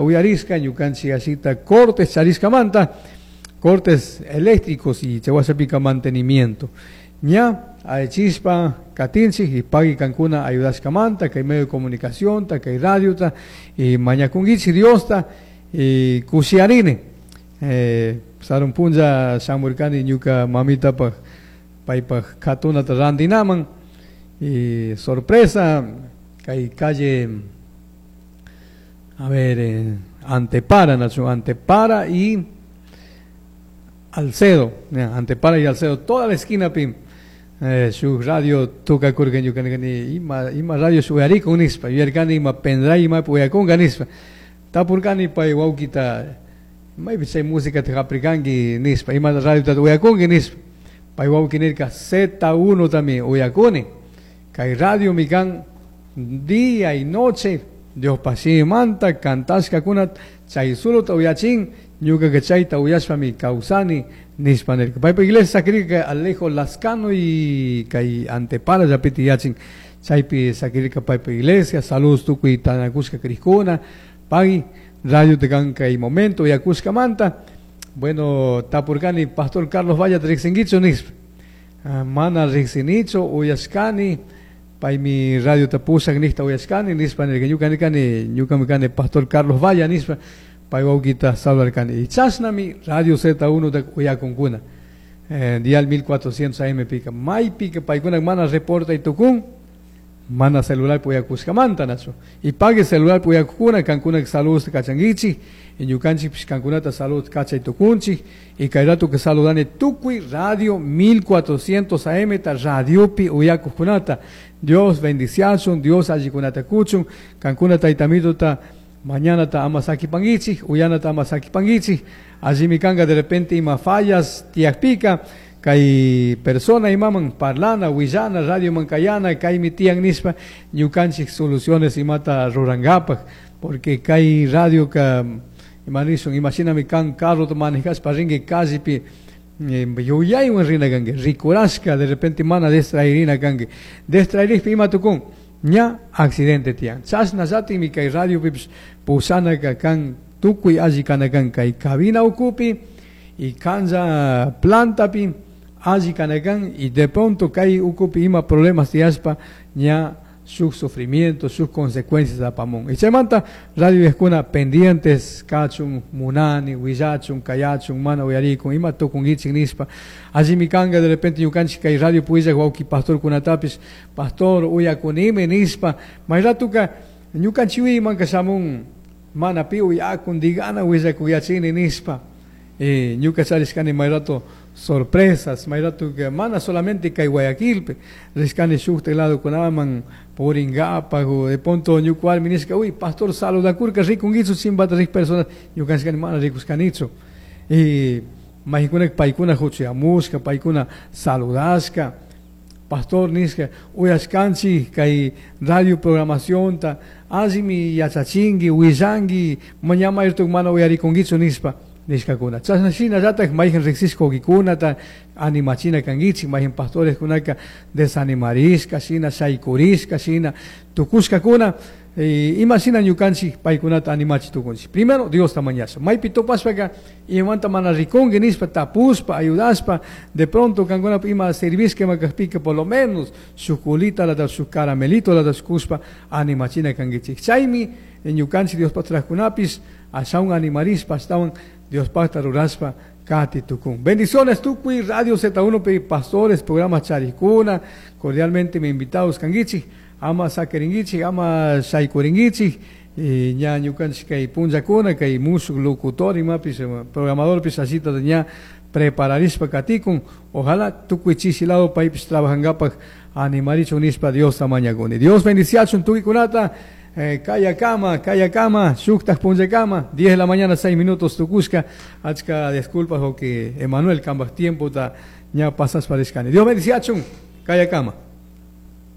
Uyarishka ñukanchik ashita cortes charishkamanta, cortes eléctricos y chawasapika mantenimiento. Ña aychispa katinchik y pagui kankuna ayudashkamanta, kay medio de comunicación, kay radiota y mañakunkichik Diosta y kushiyarini. Sarun punlla shamurkani ñuka mamitapaj paypaj katunata randinaman y sorpresa kay calle, a ver, Antepara, Nacho, Antepara y Alcedo, Antepara y Alcedo, toda la esquina pim. Su radio toca kurka ñuka nirkani ima radio shuyarikun nispa, yuyarkani ima pendrive ima uyakunka nispa. Tapurkani pay wawkita, maypi chay música haprikanki nispa, ima radio uyakunki nispa. Pay wawki nirka Z1 también uyakuni. Kay radio mi kan día y noche Dios pasimanta cantashkakuna chay suluta uyachin ñuka que chayta uyashpa mi kawsani nispa nirka. Paypa iglesia sakirka Alejo Lascano y kay Antepara llapiti yachin chaypi sakirka paypa iglesia. Saludos tukuy tanakushka krikuna pagui radio te kan kay momento uyakushkamanta. Bueno, tapurkani pastor Carlos Valla riqsinkichu nispa. Mana riqsinichu uyashkani paymi radio tapushak nishta uyashkani nispa nirka. Ñuka nirkani ñukami kani pastor Carlos Valla nispa pay wawkita saludarkani. Y chashnami radio Z1 ta uyakunkuna. Dial 1400 AM pika. Maypika paykuna mana reporta y tukun, mana celular uyakushkamanta nachu. Y pague celular uyakukuna, kankuna saludos kachankichik, y ñukanchikpish kankunata salud kachay tukunchik, y kay rato que saludani tukuy radio 1400 AM ta radiopi uyakukunata. Dios bendiciachun, Dios allikunata kuchun, kankuna taytamituta mañana ta ama sakipankichik, uyana ta ama sakipankichik, allimi kanka de repente ima fallas tiyakpika, kay persona imaman parlana, willana, radio mankayana, kaymi tiyan nispa, ñukanchik soluciones imata rurangapak, porque kay radio ka, imanishun, imashinami kan carro ta manejashpa rinki callepi, yuyaywan rina kanki, rikurashka, de repente mana distraerina kanki, distraerishpa ima tukun, ña accidente tiyan. Chashna llatikmi kay radio pipish pushanaka kan tukuy alli kana kan kay cabina ukupi y kanlla plantapi alli kana kan, y de pronto kay ukupi ima problemas tiyashpa ña sus sufrimientos, sus consecuencias apamun. Y chaymanta radio eskuna pendientes kachun, munani, willachun, kayachun, mana uyarikun, ima tukunkichik nispa. Allimi kanka de repente ñukanchik kay radio puillak wawki pastor kunatapis, pastor uyakunimi nispa. May ratuka ñukanchik manka shamun mana pi uyakun digana willakuyachini nispa. Ñuka charishkani may rato sorpresas, may rato que mana solamente kay Guayaquilpe, rishkani shukta lado kunaman puringapaj, o de pronto ñuka warmi nishka, uy, pastor saludakurka rikunkichu chimbata rik personas, ñukanchikani mana rikushkanichu. Y maykunak paykuna huchayamushka, paykuna saludashka, pastor nishka, uyashkanchik kay radio programacionta, allimi yachachinki, willanki, mañama irtuk mana uyarikunkichu nispa. Nishkakuna. Chashna shinallatak mayjan riqsishka wawkikunata animachina kankichik, mayjan pastores kunaka desanimarishka shina, shaykurishka shina, tukushkakuna, ima shina ñukanchik paykunata animachi tukunchik. Primero Diosta mañasha. Maypi tupashpaka imamanta mana rikunki nishpa tapushpa, ayudashpa, de pronto kankuna ima servishka ima kajpika por lo menos shuk kulita lata, shuk caramelito lata shukushpa animachina kankichik. Chaymi ñukanchik Diospaj trajkunapis ashawan animarishpa, ashtawan Diospajta rurashpa kati tukun. Bendiciones tukuy Radio Z1 pe pastores, programa charikuna, cordialmente me invitados kankichik, ama sakirinkichik, ama shaykurinkichik, y ña ñukanchik kay punllakuna, kay mushuk locutor imapis, programador pis asita de ña prepararishpa katikun, ojalá tukuy chishi lado paypis trabajangapak animarichun nishpa Diosta mañakuni. Dios bendiciachun tukuy-kunata. Kaya kama, kaya kama, shuktaj punlla kama, 10 de la mañana, 6 minutos tukushka, achka disculpas o que Emanuel kambaj tiempo ta ña pasas parishkani. Dios bendiciachun, kaya kama.